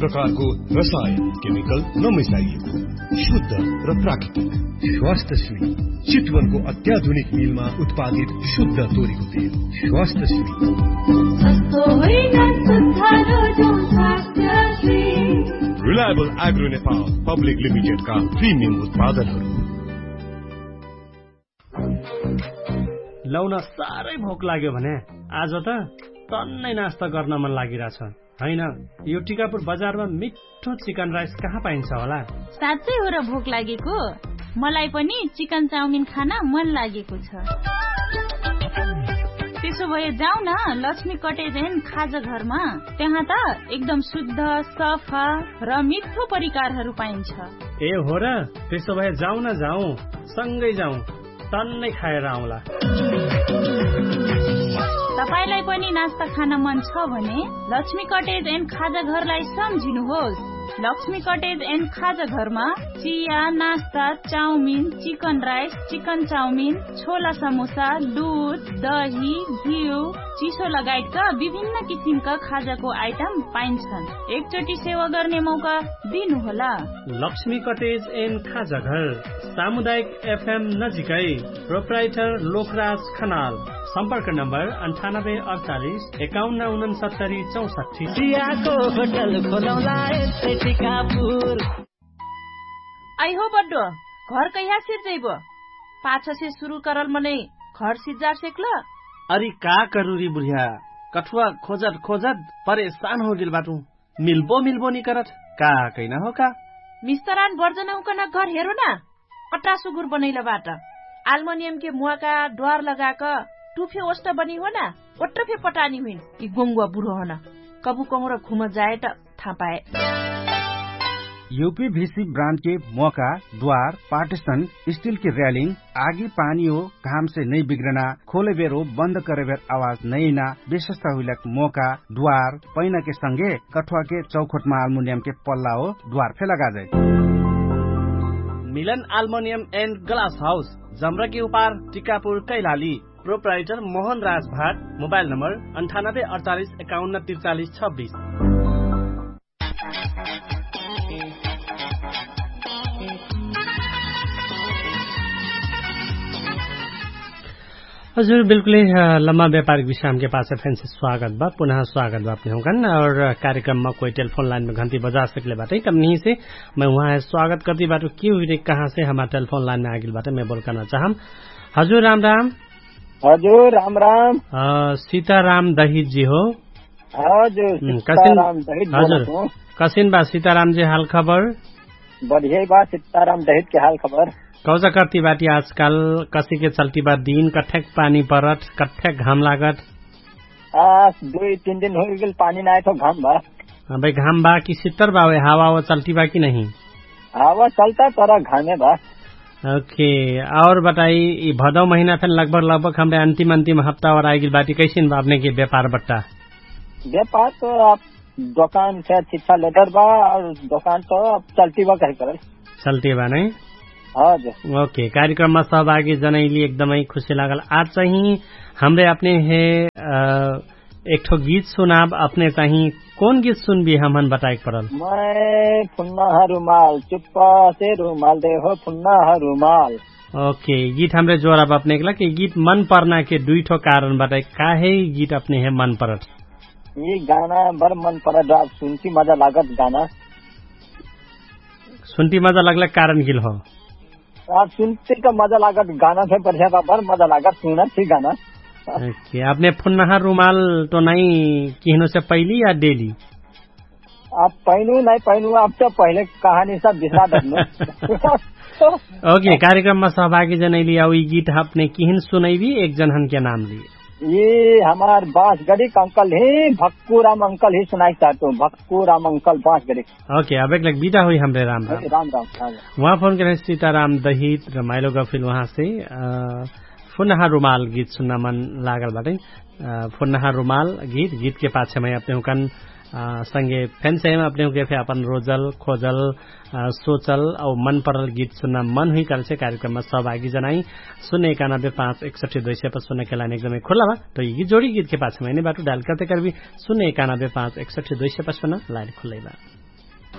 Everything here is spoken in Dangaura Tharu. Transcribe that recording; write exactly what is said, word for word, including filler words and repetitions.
प्रकारको रसायन केमिकल नमिसाइएको शुद्ध र प्राकृतिक स्वास्थ्य सुई चितवनको अत्याधुनिक मिलमा उत्पादित शुद्ध तोरीको तेल। स्वास्थ्य सुई सस्तो होइन, सुधारो जो स्वास्थ्य सुई। रिलायबल एग्रो नेपाल पब्लिक लिमिटेडका प्रिमियम उत्पादनहरू। लौन साह्रै भोक लाग्यो भने आज त तन्नै नास्ता गर्न मन लागिरहेछ, होइन? यो टिकापुर बजारमा मिठो चिकन राइस कहाँ पाइन्छ होला? साँच्चै हो र भोक लागेको? मलाई पनि चिकन चाउमिन खान मन लागेको छ। त्यसो भए जाउँ न लक्ष्मी कटेज एन्ड खाजा घरमा। त्यहाँ त एकदम शुद्ध, सफा र मिठो परिकारहरू पाइन्छ। ए हो र? त्यसो भए जाउँ न, जाउँ, सँगै जाउँ। तन्नै खाएर आउँला। तपाईंलाई पनि नास्ता खान मन छ भने लक्ष्मी कटेज एन्ड खाजा घरलाई सम्झिनुहोस्। लक्ष्मी कटेज एन्ड खाजा घरमा चिया, नास्ता, chowmein, chicken rice, chicken chowmein, छोला समोसा, दुध, दही, घिउ, चिसो लगायतका विभिन्न किसिमका खाजाको आइटम पाइन्छन्। एकचोटि सेवा गर्ने मौका दिनुहोला। लक्ष्मी कटेज एन्ड खाजा घर, सामुदायिक एफएम नजिकै। प्रोप्राइटर लोकराज खनाल। सम्पर्क नम्बर अन्ठानब्बे अडचालिस एकाउन्न उनन्सत्तरी चौसट्ठी। चियाको होटल खोलौँला यस्तै टिकापुर। आइहो बड्डो, घर कहिया सिर्जैबो? पाछसे सुरु करल मनै घर सिज्जार सेक्ल? अरि का करुरी बुढिया, कठुवा खोजत खोजत परेशान हो गेल बाटु। मिल्बो मिल्बो नि करत, का कैना हो का? मिस्तरान बर्जनहुकन घर हेरो ना, अट्रा सुगुर बनैल बाट। आल्मनियमके मुवाका द्वार लगाक टुफे ओष्ट बनी हो ना, ओट्र फे पटानी हुइन। यि गोङ्गुवा बुढो हन, कबु कहुँर घुम जाए त थाहा पाए। युपी भिसी ब्रान्डके मोका, द्वार, पार्टिसन, स्टिलके र्यालिङ, आगी पानी हो घामसे नै बिग्रना, खोले बेर हो बन्द करे बेर आवाज नैना, विशेषता हुइलक मोका, द्वार, पैनाके संगे कठुवाके चौखोटमा आल्मुनियमके पल्ला हो द्वार फे लगाजै। मिलन आल्मोनियम एन्ड ग्लास हाउस, जम्रकी उपार, टिकापुर, कैलाली। प्रोप्राइटर मोहन राज भाट। मोबाइल नम्बर अन्ठानब्बे अडचालिस एकाउन्न त्रिचालिस छब्बिस। हजुर, बिल्कुलै। लम्बा व्यापारिक विश्रामके पाछे फेन्से स्वागत बा, पुनः स्वागत बा अपने हुँकन। और कार्यक्रममा कोइ टेलिफोन लाइनमे घन्टी बजा सकले बाटै तब निहिसे, मै उहाँ स्वागत कर्ती बाटो। के हुइने कहाँसे हमार टेलिफोन लाइनमे आगिल बाटै मै बोल कर्ना चाहम। हजुर राम राम। हजुर राम राम। सीताराम दहित जी हो? हजुर। कसिन बा सीताराम जी हाल खबर? बढियै बा सीताराम दहित के हाल खबर। कौजा कर्ती बाटी आजकाल? कसिके चल्ती बा दिन? कठ्याक पानी परत, कठ्याक घाम लागत? आज दुई तीन दिन हुइगेल पानी नाय थो, घाम बा। अबै घाम बा कि सित्तर बा? हावा हावा चल्ती बा कि नहीं? हावा चल्ता तर घामे बा। ओके। और बताई, यि भदौ महिना फेन लगभग लगभग हमरे अन्तिम अन्तिम हप्ता और आइगिल बाटी, कैसिन बा अपने के व्यापार बट्टा? व्यापार तो अब दोकान से छिच्छा लेटर बा और दोकान तो अब चल्ती बा कही करल। चल्ती बा नहीं? हजुर। ओके, कार्यक्रममा सहभागी जनैली एकदमै खुसी लागल। आज चाहिँ हमरे अपने हे एकठो गीत सुनाब। अपने चाहिँ कौन गीत सुनबी हमहन बताएक परल? मैं फुन्ना ह रुमाल चुप्पा से रुमाल दे हो फुन्ना ह रुमाल। ओके, गीत हमरे जोरब अपने एकला कि गीत मन पर्ना के दुइ ठो कारण बताए काहे गीत अपने हे मन परत? यि गाना बर मन परत। सुन्ती मजा लागत गाना। सुन्ती मजा लागला कारण गिल हो? अब सुन्ती त मजा लागत गाना फे बढ़िया बा, बर मजा लागत सुनत थी गाना। ओके, अपने फुन्नहा रुमाल तो नहीं किहनो से पहली या डेली? अब पहिनु नहीं पहिनु, अब त पहिले कहानी सब बिसरा दर्नु। ओके, कार्यक्रममा सहभागी जनैली आउ यि गीत अपने किहिन सुनैबी एक जनहन के नाम ली? यि हमार बाँसगढीक अंकल ही भक्कु राम अंकल ही सुनाइक चाहतु। भक्कु राम अंकल बाँसगढीक। ओके, अब एक लग बिदा हुई हमरे राम राम। राम राम। उहाँ फोन करे सीताराम दहित रमाइलो गफिल उहाँ से। फुनहा रुमाल गीत सुन्ना मन लागल बाटै। फुनहा रुमाल गीत गीतके पाछेमै अपने हुँकन संगे फेन्सेम अपने हुँके फे अपन रोजल खोजल सोचल औ मन परल गीत सुन्ना मन हुई करछे कार्यक्रममा सहभागी जनाई। सुन्ने एकानब्बे पाँच एकसठी दुई सय पचपन्न के लाइन एकदमै खुल्ला बा। त यि जोडी गीतके पाछेमै नै बाटो डायल करते करबी। सुन्ने एकानब्बे पाँच एकसठी दुई सय पचपन्न लाइन खुल्लै बा।